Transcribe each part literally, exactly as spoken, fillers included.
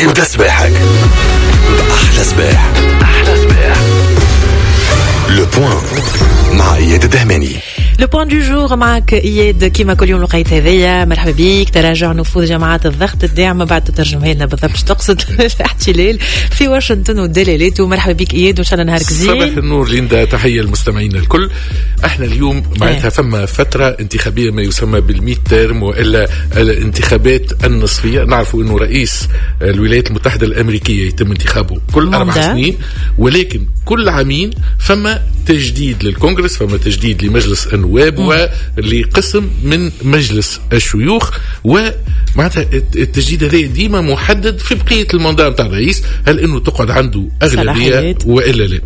ابدا صباحك بأحلى صباح، أحلى صباح. le point مع اياد الدهماني. le point du jour معك اياد كيما كل يوم الوقيت هذيا، مرحبا بك. تراجع نفوذ جماعات الضغط الداعمة، بعد تترجمها لنا بالضبط تقصد الاحتلال في واشنطن ودلالاته. مرحبا بك اياد وان شاء الله نهارك زين. صباح النور ليندا، تحية للمستمعين الكل. احنا اليوم معناتها فما فترة انتخابية ما يسمى بال midterm والا الانتخابات النصفيه. نعرفوا انه رئيس الولايات المتحدة الامريكية يتم انتخابه كل اربع سنين، ولكن كل عامين فما تجديد للكونغرس، فما تجديد لمجلس النواب ولقسم من مجلس الشيوخ، ومعناتها التجديد هذا ديما محدد في بقية ال mandat نتاع الرئيس، هل انه تقعد عنده اغلبية والا لا.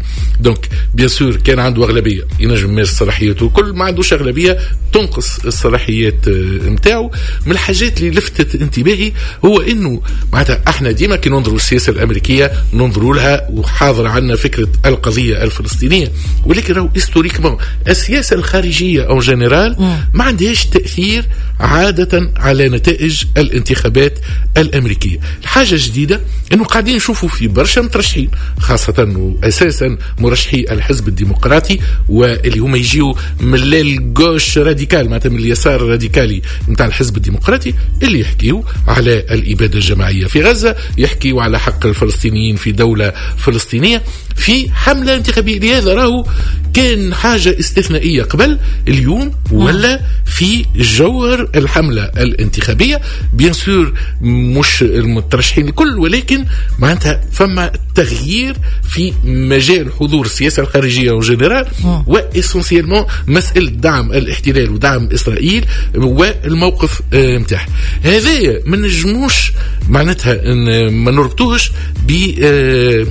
donc bien sûr كان عنده اغلبية ينجم يمارس صلاحياته الكل، ما عندوش اغلبية تنقص الصلاحيات نتاعو. من الحاجات اللي لفتت انتباهي هو انه معناتها احنا ديما كي ننظروا السياسة الامريكية ننظروا لها وحاضر عندنا فكرة القضية الفلسطينيه، ولكن راهو historiquement السياسة الخارجية en général ما عندهاش تاثير عادة على نتائج الانتخابات الامريكية. الحاجة الجديدة انه قاعدين نشوفوا في برشا مترشحين، خاصة واساسا مرشحي الحزب الديمقراطي واللي هما يجيو من l'aile gauche radicale، معناتها من اليسار الراديكالي نتاع الحزب الديمقراطي، اللي يحكيوا على الابادة الجماعية في غزه، يحكيوا على حق الفلسطينيين في دولة فلسطينية في حمله انتخابية. لهذا راهو كان حاجة استثنائية قبل، اليوم ولا في جوهر الحملة الانتخابيه. bien sûr مش المترشحين الكل، ولكن معناتها فما تغيير في مجال حضور السياسة الخارجية en général، و essentiellement مسالة دعم الاحتلال ودعم اسرائيل والموقف نتاعها. هذايا ما نجموش معناتها ما نربطوهش ب آه،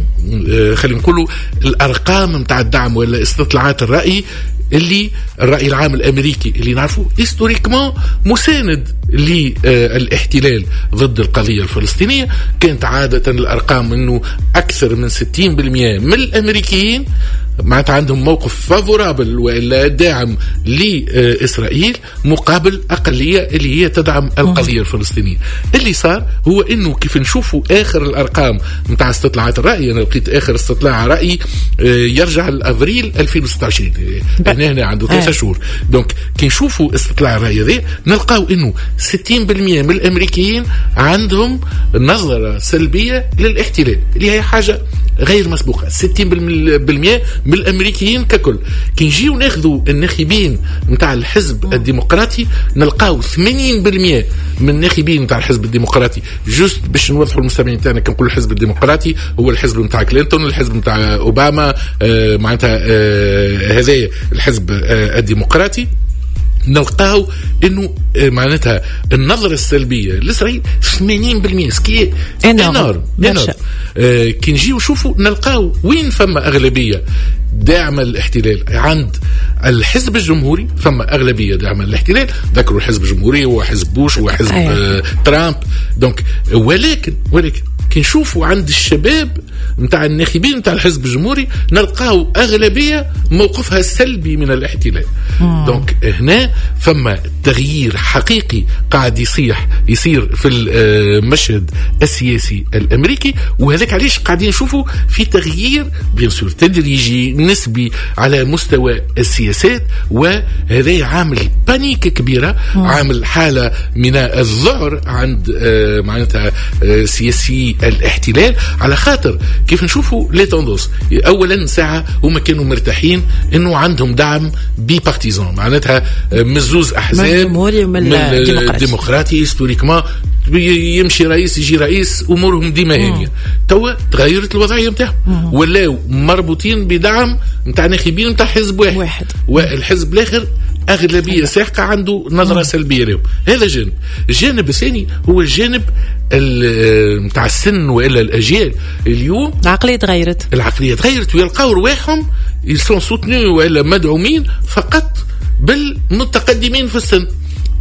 آه، خلينا نقولوا الارقام نتاع الدعم ولا استطلاعات الراي، اللي الراي العام الامريكي اللي نعرفه historiquement مساند للاحتلال ضد القضية الفلسطينيه. كانت عادة الارقام انه اكثر من ستين بالمية من الامريكيين معناتها عندهم موقف favorable والا داعم لاسرائيل، مقابل اقلية اللي هي تدعم القضية الفلسطينية. اللي صار هو انه كيف نشوفوا اخر الارقام نتاع استطلاعات الراي، انا لقيت اخر استطلاع راي آه، يرجع لافريل ألفين وستة وعشرين، هنا هنا عنده ثلاثة شهور. donc كي نشوفوا استطلاع الراي هذا نلقاو انه ستين بالمية من الامريكيين عندهم نظره سلبية للاحتلال، اللي هي حاجة غير مسبوقه، ستين بالمية من الامريكيين ككل. كي نجيو ناخذوا الناخبين نتاع الحزب الديمقراطي نلقاو ثمانين بالمية من الناخبين نتاع الحزب الديمقراطي. juste باش نوضحوا للمستمعين تاعنا، كي نقول الحزب الديمقراطي هو الحزب نتاع كلينتون، الحزب نتاع اوباما، آه معناتها آه هذا الحزب آه الديمقراطي، نلقاو انه آه، معناتها النظرة السلبية لاسرائيل ثمانين بالمية، ce qui est énorme. آه كي نجيو نشوفوا نلقاو وين فما اغلبية داعمه للاحتلال عند الحزب الجمهوري، فما اغلبية داعمه للاحتلال. ذكروا الحزب الجمهوري هو حزب بوش وحزب آه ترامب. donc ولكن ولكن كي نشوفوا عند الشباب نتاع الناخبين نتاع الحزب الجمهوري نلقاو اغلبية موقفها سلبي من الاحتلال. donc هنا فما تغيير حقيقي قاعد يصيح يصير في المشهد السياسي الامريكي، وهذاك علاش قاعدين نشوفوا في تغيير bien sûr تدريجي نسبي على مستوى السياسات، وهذا عامل panique كبيره، عامل حاله من الذعر عند آه، معناتها آه، سياسي الاحتلال، على خاطر كيف نشوفوا les tendances، اولا ساعة هما كانوا مرتاحين انه عندهم دعم bipartisan، معناتها آه، من زوز احزاب، من الجمهوري ومن الديمقراطي. الديمقراطي. historiquement يمشي رئيس يجي رئيس امورهم ديما هانيه. توا تغيرت الوضعية نتاعهم، ولاو مربوطين بدعم نتاع ناخبين نتاع حزب واحد، واحد. والحزب الاخر اغلبية ساحقة عنده نظره سلبية لهم. هذا جانب. الجانب الثاني هو الجانب نتاع السن والا الاجيال اليوم. العقلية تغيرت. العقلية تغيرت ويلقاو رواحهم ils sont soutenus والا مدعومين فقط بالمتقدمين في السن.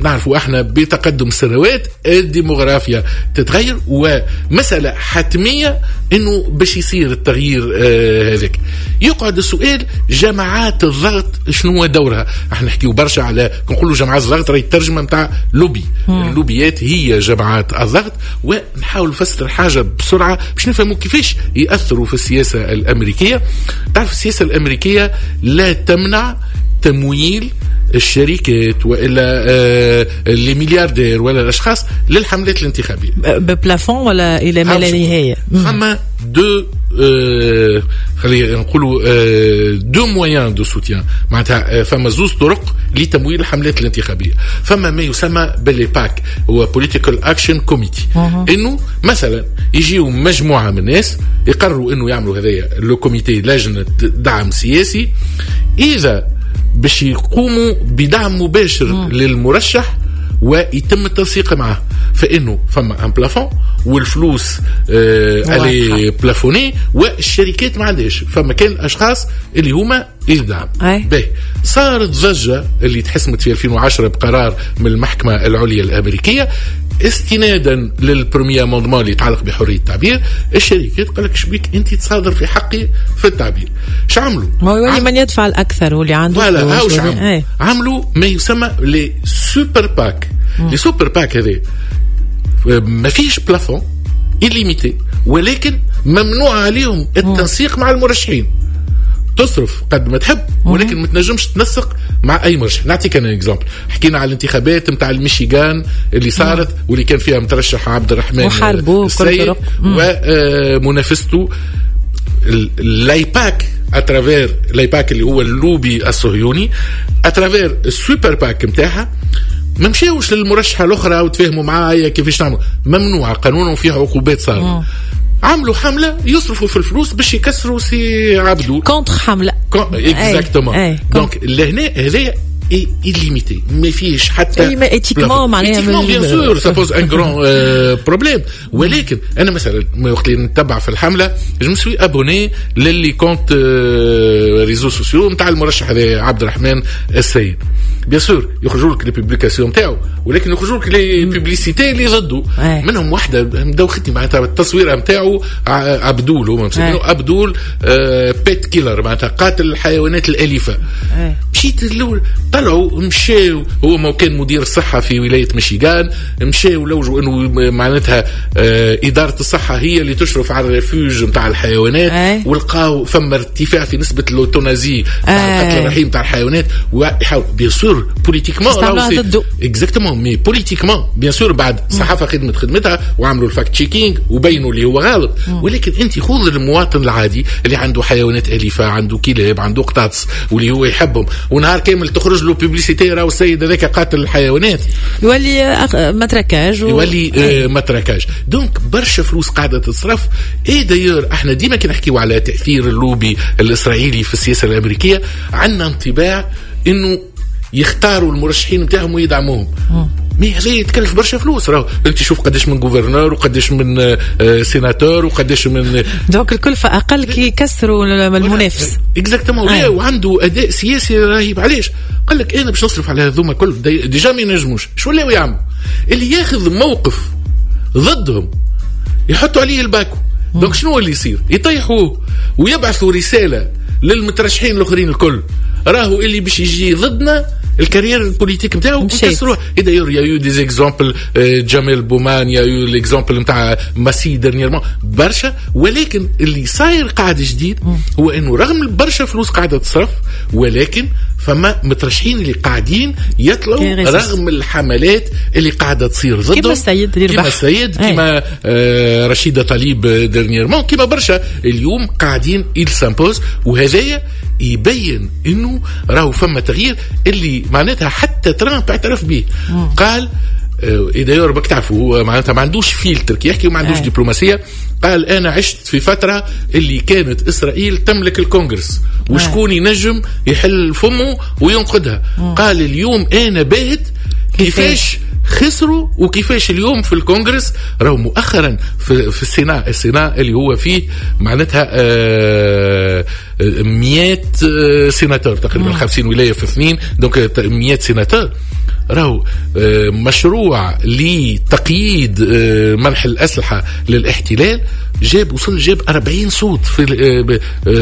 نعرفوا احنا بتقدم السنوات الديموغرافيا تتغير، ومسألة حتمية انه باش يصير التغيير آه هذاك. يقعد السؤال جماعات الضغط شنو هو دورها؟ احنا نحكيو برشا على نقولوا جماعات الضغط راهي الترجمة نتاع لوبي، اللوبيات هي جماعات الضغط. ونحاول نفسر حاجة بسرعة باش نفهموا كيفاش يأثروا في السياسة الأمريكية. تعرف السياسة الأمريكية لا تمنع تمويل الشركات والا آه les milliardaires ولا الاشخاص للحملات الانتخابية ب plafond ولا الى ما لا نهاية. فما deux آه خلينا نقولوا آه deux moyens de soutien، معناتها آه فما زوز طرق لتمويل الحملات الانتخابية. فما ما يسمى بال les PAC، هو political action committee، انه مثلا يجيو مجموعة من الناس يقرروا انه يعملوا هذايا le comité، لجنة دعم سياسي، اذا باش يقوموا بدعم مباشر مم. للمرشح ويتم التنسيق معه، فانه فما un plafond والفلوس آه elle est plafonnée والشركات ما عندهاش، فما كان الاشخاص اللي هما يدعم. باهي، صارت ضجه اللي تحسمت في ألفين وعشرة بقرار من المحكمة العليا الامريكية استنادا لل premier amendement اللي يتعلق بحرية التعبير. الشركات قال لك شبيك انت تصادر في حقي في التعبير. اش عملوا؟ ما هو يولي من يدفع الاكثر واللي عنده voilà. هاو عملوا عملوا ما يسمى les super PAC. les super PAC هذا ما فيش plafond، illimité، ولكن ممنوع عليهم التنسيق مع المرشحين. تصرف قد ما تحب ولكن ما تنجمش تنسق مع اي مرشح. نعطيك انا exemple، حكينا على الانتخابات نتاع الميشيغان اللي صارت واللي كان فيها مترشح عبد الرحمن السيد ومنافسته l'AIPAC à travers l'AIPAC اللي هو اللوبي الصهيوني à travers ال super PAC نتاعها. ما مشاوش للمرشحه الاخرى وتفاهموا معايا كيفاش نعملوا، ممنوع قانونا وفيها عقوبات صارمة. عملوا حمله يصرفوا في الفلوس باش يكسروا سي عبدو، contre حمله exactement. donc لهنا هذايا illimité، ما فيش حتى اي mais éthiquement معناها éthiquement bien sûr ça pose un grand problème. ولكن انا مثلا وقت اللي نتبع في الحملة je me suis abonné ل les comptes réseaux sociaux نتاع المرشح هذا عبد الرحمن السيد. bien sûr يخرجوا لك les publications نتاعو، ولكن يخرجوا لك les publicités اللي ضده. منهم واحدة مدوختني معناتها التصويره نتاعو عبدول، هما مسمينه عبدول pet killer، معناتها قاتل الحيوانات الاليفة. مشيت الاول طلعوا مشاو، هو ما كان مدير الصحة في ولاية ميشيغان، مشاو لوجوا انه معناتها ادارة الصحة هي اللي تشرف على ال refuge نتاع الحيوانات، ولقاو فما ارتفاع في نسبه l'euthanasie تاع القتل الرحيم تاع الحيوانات. ويحاول bien sûr politiquement exactement، mais politiquement bien sûr بعد الصحافة خدمت خدمتها وعملوا ال fact-checking وبينوا اللي هو غلط. ولكن انت خذ المواطن العادي اللي عنده حيوانات اليفه، عنده كلاب، عنده قطاطس واللي هو يحبهم، ونهار كامل تخرج له publicité راهو السيد هذاك قاتل الحيوانات، يولي matraquage و... يولي آه matraquage. donc برشا فلوس قاعدة تتصرف. et d'ailleurs احنا ديما كي نحكيو على تاثير اللوبي الاسرائيلي في السياسة الامريكية عندنا انطباع انه يختاروا المرشحين نتاعهم ويدعموهم، mais هذا يتكلف برشا فلوس. راهو انت شوف قداش من gouverneur وقداش من سيناتور وقداش من donc الكلفة اقل كي يكسروا المنافس. exactement، وعنده اداء سياسي رهيب. علاش؟ قال لك انا باش نصرف على هذوما كل déjà ما ينجموش. شو ولاو يعملوا؟ اللي ياخذ موقف ضدهم يحطوا عليه الباكو. donc شنو اللي يصير؟ يطيحوه ويبعثوا رسالة للمترشحين الاخرين الكل، راهو اللي باش يجي ضدنا ال carrière ال politique نتاعو يكسروه. d'ailleurs y a eu des exemples، جميل بومان، y a eu l'exemple نتاع ماسي dernièrement برشا. ولكن اللي صاير قاعد جديد هو انه رغم برشا فلوس قاعدة تصرف، ولكن فما مترشحين اللي قاعدين يطلعوا رغم الحملات اللي قاعدة تصير ضدهم، كما السيد اللي ربح، كما السيد، كما آه رشيده طليب dernièrement، كما برشا اليوم قاعدين ils s'imposent. وهذايا يبين انه راهو فما تغيير اللي معناتها حتى ترامب اعترف به. قال d'ailleurs باك تعرفوا هو معناتها ما عندوش فيلتر كي يحكي وما عندوش دبلوماسية. قال انا عشت في فترة اللي كانت اسرائيل تملك الكونغرس وشكون ينجم يحل فمه وينقدها. قال اليوم انا باهت كيفاش خسروا وكيفاش اليوم في الكونغرس راهو مؤخرا في, في ال Sénat، ال Sénat اللي هو فيه معناتها آه مية سيناتور تقريبا، خمسين ولاية في اثنين، donc مية سيناتور. راهو مشروع لتقييد منح الأسلحة للاحتلال جاب وصل جاب أربعين صوت في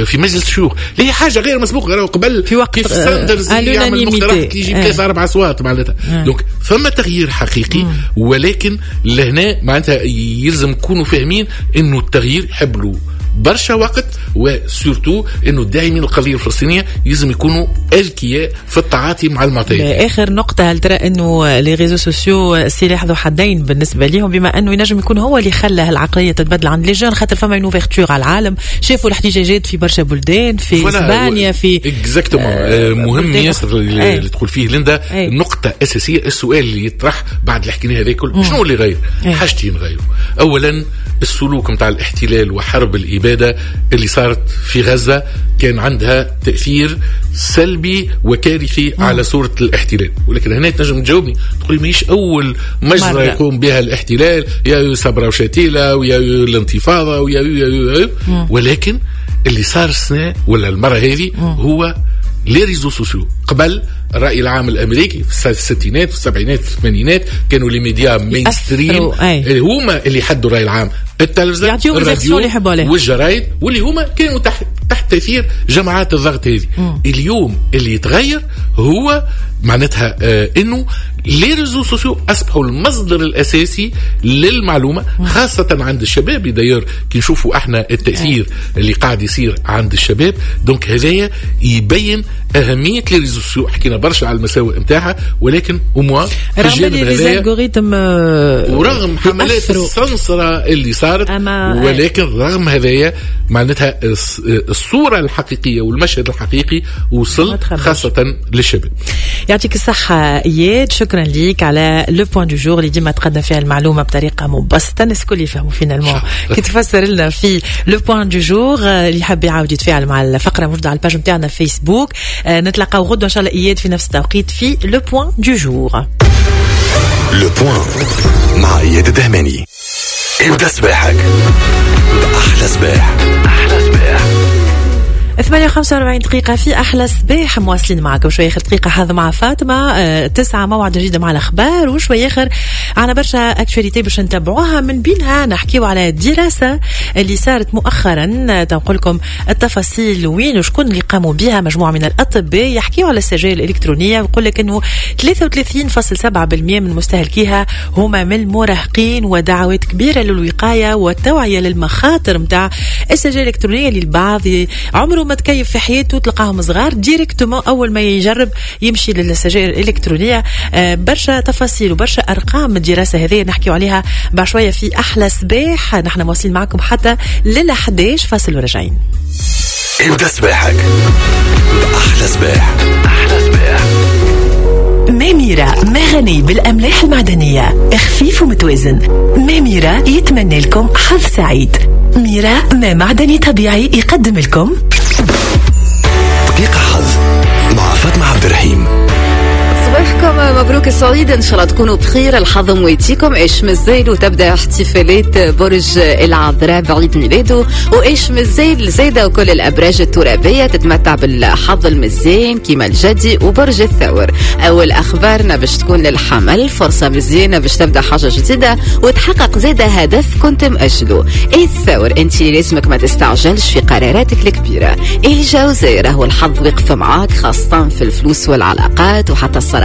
في مجلس الشيوخ، اللي هي حاجة غير مسبوقة. راهو قبل في وقت كيف ساندرز يعمل مقترح يجيب ثلاثة أربع أصوات معناتها. donc فما تغيير حقيقي، ولكن لهنا معناتها يلزم نكونوا فاهمين انه التغيير يحب له برشا وقت، و surtout انه الداعمين القضية الفلسطينية لازم يكونوا اذكياء في التعاطي مع المعطيات. اخر نقطة، هل ترى انه les réseaux sociaux سلاح ذو حدين بالنسبة لهم، بما انه ينجم يكون هو اللي خلى العقلية تتبدل عند les jeunes، خاطر فما une ouverture على العالم، شافوا الاحتجاجات في برشا بلدان، في اسبانيا، في exactement. آه مهم ياسر اللي, اللي تقول فيه ليندا، نقطة اساسية. السؤال اللي يطرح بعد اللي حكيناه هذا كل، شنو اللي غير؟ حاجتين غيروا. اولا السلوك نتاع الاحتلال وحرب الإبادة اللي صارت في غزة كان عندها تأثير سلبي وكارثي على صورة الاحتلال. ولكن هنا تنجم تجاوبني تقولي ماهيش أول مجزرة يقوم بها الاحتلال، يا صبرا وشاتيلة ويا الانتفاضة ويا يا يا، ولكن اللي صار السنة ولا المرة هذه هو les réseaux sociaux. قبل الرأي العام الأمريكي في الستينات في السبعينات في الثمانينات كانوا les médias mainstream اللي هما اللي حدوا الرأي العام، التلفزيون، الراديو والجرايد، واللي هما كانوا تحت تحت تأثير جماعات الضغط هذه. اليوم اللي يتغير هو معناتها آه انه les réseaux sociaux اصبحوا المصدر الاساسي للمعلومة، خاصة عند الشباب. d'ailleurs كي نشوفوا احنا التاثير اللي قاعد يصير عند الشباب، donc هذايا يبين اهمية les réseaux sociaux. حكينا برشا على المساوئ نتاعها، ولكن au moins رغم les algorithmes ورغم حملات السنسره اللي صارت، ولكن رغم هذايا معناتها الصورة الحقيقية والمشهد الحقيقي وصل خاصة للشباب. يعطيك الصحة اياد، شكرا ليك على le point du jour اللي ديما تقدم فيها المعلومة بطريقة مبسطة، الناس الكل يفهموا finalement كي تفسر لنا في le point du jour. اللي حاب يعاود يتفاعل مع الفقرة موجودة على ال page نتاعنا فيسبوك. نتلاقاو غدوه ان شاء الله اياد في نفس التوقيت في le point du jour. le point مع اياد الدهماني. ابدا صباحك باحلى صباح. احلى صباح ثمانية وخمسة وأربعين دقيقة في أحلى صباح، مواصلين معكم شوية آخر دقيقة حظ مع فاطمة تسعة موعد جديد مع الأخبار، وشوية آخر عنا برشا actualités باش نتبعوها، من بينها نحكيو على دراسة اللي صارت مؤخرا، تنقول لكم التفاصيل وين وشكون اللي قاموا بها، مجموعة من الأطباء يحكيو على السجاير الإلكترونية، ويقول لك إنه ثلاثة وثلاثين فاصل سبعة بالمئة من مستهلكيها هما من المراهقين، ودعوات كبيرة للوقاية والتوعية للمخاطر متاع السجاير الإلكترونية اللي البعض عمره ما تكيف في حياته، تلقاهم صغار directement اول ما يجرب يمشي للسجائر الالكترونية. برشا تفاصيل وبرشا ارقام الدراسة هذه نحكيو عليها بعد شوية في احلى صباح. نحن مواصلين معكم حتى لل أحد عشر فاصل وراجعين. ابدا صباحك باحلى صباح. احلى صباح. ماميرا مغني بالاملاح المعدنية، خفيف ومتوازن. ماميرا يتمنى لكم حظ سعيد. ميرا ما معدني طبيعي يقدم لكم دقيقة حظ مع فاطمة عبد الرحيم. صباحكم مبروك السعيد، ان شاء الله تكونوا بخير. الحظ مويتيكم. ايش مازال وتبدا احتفالات برج العذراء بعيد ميلاده، وايش مازال زايدة وكل الابراج الترابيه تتمتع بالحظ المزيان كيما الجدي وبرج الثور. اول اخبارنا باش تكون للحمل، فرصة مزيانه باش تبدا حاجة جديدة وتحقق زاده هدف كنت مأجله. ايه الثور، انت لازمك ما تستعجلش في قراراتك الكبيرة. ايه الجوزاء، راهو الحظ وقف معاك خاصة في الفلوس والعلاقات وحتى السرطان.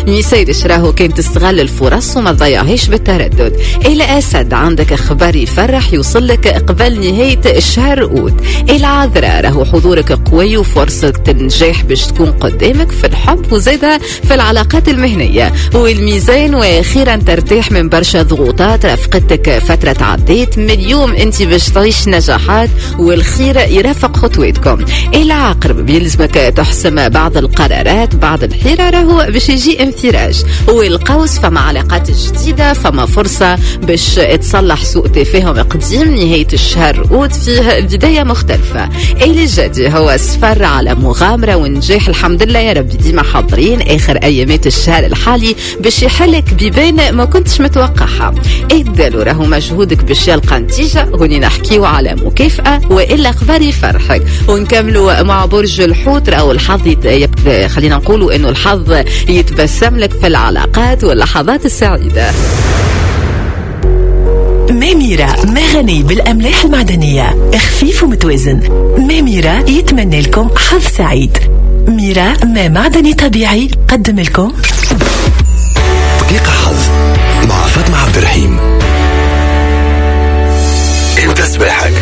ميسيرش راهو كان تستغل الفرص وما تضيعهاش بالتردد. الأسد، عندك خبر يفرح يوصل لك قبل نهاية الشهر أوت. العذراء، راهو حضورك قوي وفرصة النجاح باش تكون قدامك في الحب وزادها في العلاقات المهنية. والميزان، وأخيرا ترتاح من برشا ضغوطات رافقتك فترة عديت، من اليوم انت باش تعيش نجاحات والخير يرافق خطواتكم. العقرب، بيلزمك تحسم بعض القرارات بعد الحيرة، راهو باش يجي انفراج. والقوس فما علاقات جديدة، فما فرصة باش تصلح سوء تفاهم قديم. نهاية الشهر أوت فيه بداية مختلفة. الجدي هو سفر على مغامرة ونجاح، الحمد لله يا ربي ديما حاضرين آخر أيامات الشهر الحالي باش يحلك بيبان ما كنتش متوقعها. الدلو راهو مجهودك باش يلقى نتيجة، هوني نحكيو على مكافأة وإلا أخبار يفرحك. ونكملوا مع برج الحوت، راهو الحظ يت... خلينا نقولوا إنه الحظ يتبسم لك في العلاقات واللحظات السعيدة. ماميرا مغني بالأملاح المعدنية، خفيف ومتوازن. ماميرا يتمنى لكم حظ سعيد. ميرا ما معدني طبيعي قدم لكم دقيقة حظ مع فاطمة عبد الرحيم. ابدأ صباحك